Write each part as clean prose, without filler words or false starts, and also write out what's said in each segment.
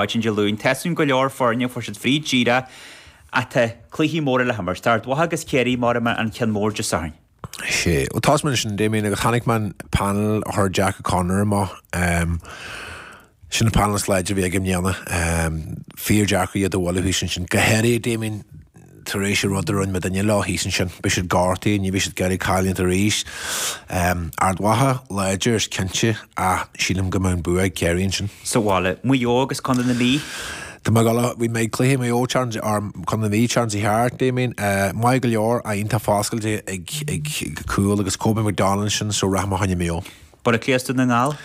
Maidin Dé Luain, tá a fhios againn go leor foirne, fuair siad fríd díreach ach tá cluichí móra le himirt. Tá Ard Mhacha agus Ciarraí mar an cheann mór Dé Sathairn. Sea, bhuel tá mé ansin, Damien, agus chonaic mé an panel a chuir Jack O'Connor amach. Sin an panel is láidre a bhí aige i mbliana. Fíor-deacair iad a bhualadh thíos ansin. Go háirithe, Damien, tar éis an rud a rinne muidinne leo thíos ansin. Beidh siad gortaithe, ní bheidh siad ag iarraidh cailliúint arís. Ard Mhacha, láidir is cinnte, ach sílim go mbeidh an bua ag Ciarraí ansin. Sa bhaile, Maigh Eo agus Contae na Mí. Tá mé ag dul, bhí mé ag cluiche Maigh Eo, or Contae na Mí, tseachtain seo thart, Damien. Maith go leor, ach iontach foscailte ag ag cúl agus Kobe McDonald ansin, so rachaidh mé fá choinne Maigh Eo. Baile Átha Cliath is Dún na nGall.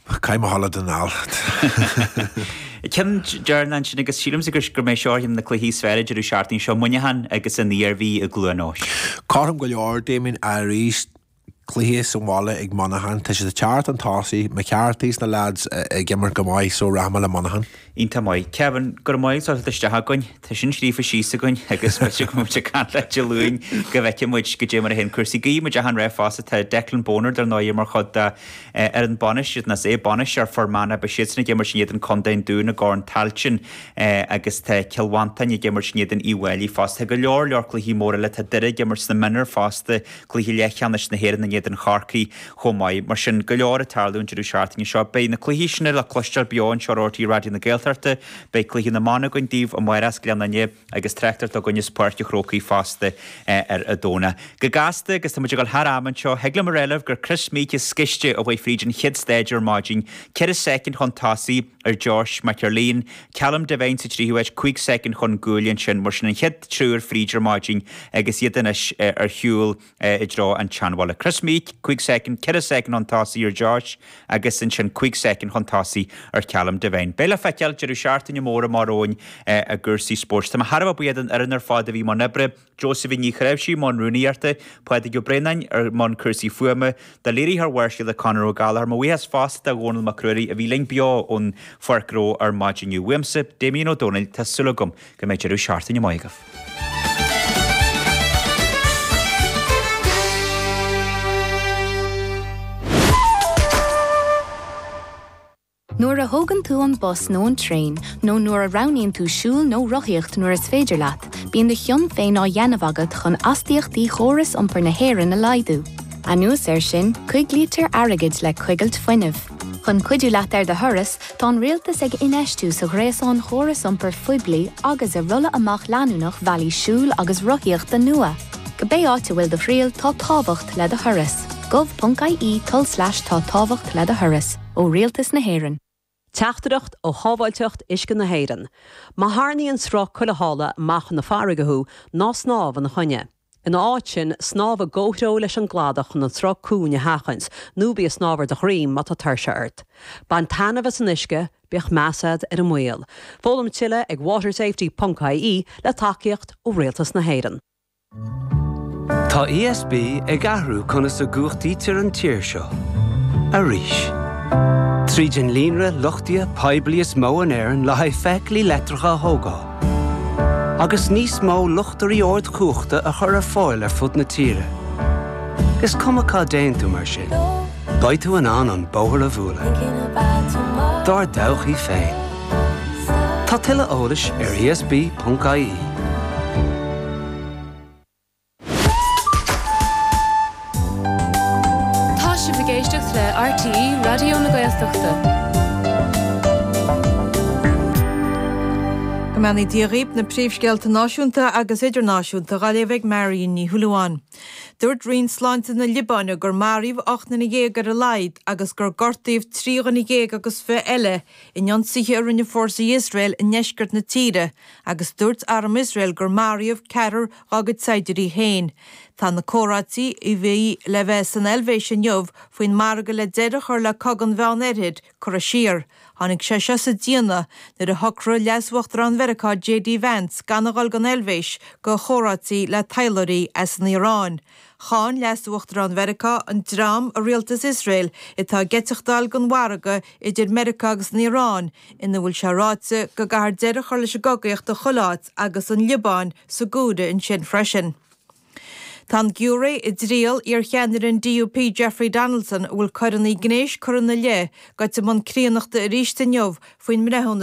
Caithfidh mé a dhul le Dún na nGall. Ceann deireanach ansin agus sílimse gur go mbeidh seo ar cheann de na cluichí is fearr an deireadh seachtaine seo, Muineachán agus an Iarmhí i gCluain Eois. Cothrom go leor, Damien, arís cluiche sa bhaile ag Monaghan. Tá siad ag teacht chun tosaigh, McCarthy is na lads ag imirt go maith so rachaidh mé le Monaghan. Iontach maith. Kevin, go raibh maith agat as teacht isteach chugainn. Tá sin scríofa síos againn agus b'fhéidir go mbeidh muid ag caint leat Dé Luain go bhfeicfidh muid goidé mar a théann cúrsaí. Guífidh muid achan rath fosta. Tá Declan Bonner dar ndóigh mar chuid de fhoireann bainistíocht, nó is é bainisteoir Fhear Manach, beidh siadsan ag imirt in éadan Contae an Dúin i gCorn Tailteann agus tá Cill Mhantáin ag imirt in éadan Uíbh Fhailí fosta. Tá go leor leor cluichí móra eile. Tá Doire ag imirt sna mionúir fosta. Cluiche leathcheannais na hÉireann in éadan Chorcaí chomh maith. Mar sin, go leor ag tarlú an deireadh seachtaine seo. Beidh na cluichí sin le cloisteáil beo anseo ar RTÉ Raidió na Gaeltachta. Beidh cluiche na mban againn daoibh amárach as Gleann Fhinne agus tráchtaireacht againn as Páirc an Chrócaigh fosta ar an Domhnach. Go gasta, agus tá muid ag dul thar am anseo, thig liom a rá libh gur Kris Meeke as Sciste a chuaigh fríd an chéad stáid ar maidin, 4 soicind chun tosaigh ar Josh McErlean, Callum Devine sa tríú háit, 5 soicind chun guaille ansin. Mar sin an chéad triúr fríd ar maidin agus iad anois ar shiúl i dtreo an tSeanbhaile. Kris Meeke, 5 soicind, 4 soicind chun tosaigh ar Josh agus ansin 5 soicind chun tosaigh ar Callum Devine. Beidh le feiceáil, deireadh seachtaine mór amach romhainn i gcúrsaí spóirt. Tá mé thar a bheith buíoch den fhoireann ar fad a bhí i mbun oibre. Josephine Ní Chnáimhsí i mbun rúnaíochta, Pádraig Ó Braonáin ar mbun cúrsaí fuaime, do léiritheoir Mháirséala Conor Ó Gallchóir. Mo bhuíochas fosta do Dhónal Mac Ruairí a bhí linn beo ón Pháirc Ghnó ar maidin inniu. Uaimse, Damien Ó Dónaill, tá súil agam go mbeidh deireadh seachtaine maith agaibh. Nuair a thógann tú an bus nó an traein, nó nuair a roghnaíonn tú siúl nó rothaíocht nuair is féidir leat, bíonn do chion féin á dhéanamh agat chun astaíochtaí chóras iompair na hÉireann a laghdú. Anuas air sin, coiglítear airgead le coigilt fuinnimh. Chun cuidiú leat ar do thuras, tá an rialtas ag infheistiú sa ghréasán chóras iompair phoiblí agus i rolladh amach leanúnach bhealaí siúil agus rothaíochta nua. Cibé áit a bhfuil do thriall, tá tábhacht le do thuras. gov.ie tulslais tá tábhacht le do thuras. ó Rialtas na hÉireann. Teachtaireacht ó Shábháilteacht Uisce na hÉireann. Má tharraingíonn sruth cuilitheála amach chun na farraige thú, ná snámh ina choinne. Ina áit sin, snámh i gcomhthreo leis an gcladach chun an sruth cúng a sheachaint, nó bí ag snámh ar do dhroim má tá tuirse ort. Bain taitneamh as an uisce, bíodh meas agat ar an mbaol. Foghlaim tuilleadh ag watersafety ponc ie le tacaíocht ó Rialtas na hÉireann. Tá ESB ag athrú conas a gcumhachtaítear an tír seo. Arís. Tríd an líonra luchtaithe poiblí is mó in Éirinn le haghaidh feithiclí leictreacha a thógáil. Agus níos mó luchtairí ardchumhachta a chur ar fáil ar fud na tíre. Is cuma cá dtéann tú mar sin, beidh tú in ann an bóthar a bhualadh. Dár dtodhchaí féin. Tá tuilleadh eolais ar esb.ie. Tá sibh ag éisteacht le RTÉ Raidió na Gaeltachta. Go mbeannaí Dia dhaoib, na príomhscéalta náisiúnta agus idirnáisiúnta dhá léamh ag Marion Ní Shúilleabháin. Dúirt Roinn Sláinte na Liobáine gur maraíodh 18 nduine ar a laghad agus gur gortaíodh 23 dhuine agus eile in ionsaithe a rinne fórsaí Iosrael i ndeisceart na tíre agus dúirt arm Iosrael gur maraíodh ceathrar dá gcuid saighdiúirí féin. Tá na comhráití a bhí le bheith san Eilvéis inniu faoin margadh le deireadh a chur le cogadh an Mheán-Oirthir curtha siar. Tháinig sé seo sa déanamh nuair a shocraigh Leas-Uachtarán Mheiriceá JD Vance gan a dhul don Eilvéis go chomhráití le taidhleoirí as an Iaráin. Cháin Leas-Uachtarán Mheiriceá an dream i rialtas Iosrael atá ag eiteachtáil don mhargadh idir Meiriceá agus an Iaráin ina bhfuil sé ráite go gcaithfear deireadh a chur leis an gcogaíocht i chuile áit agus an Liobáin sa gcomhaireamh ansin freisin. Tá an giúiré i dtriail iarcheannaire an DUP Jeffrey Donaldson, a bhfuil coireanna gnéis curtha ina leith, gaibhte i mbun críonnachta arís inniu faoin mbreithiúnas.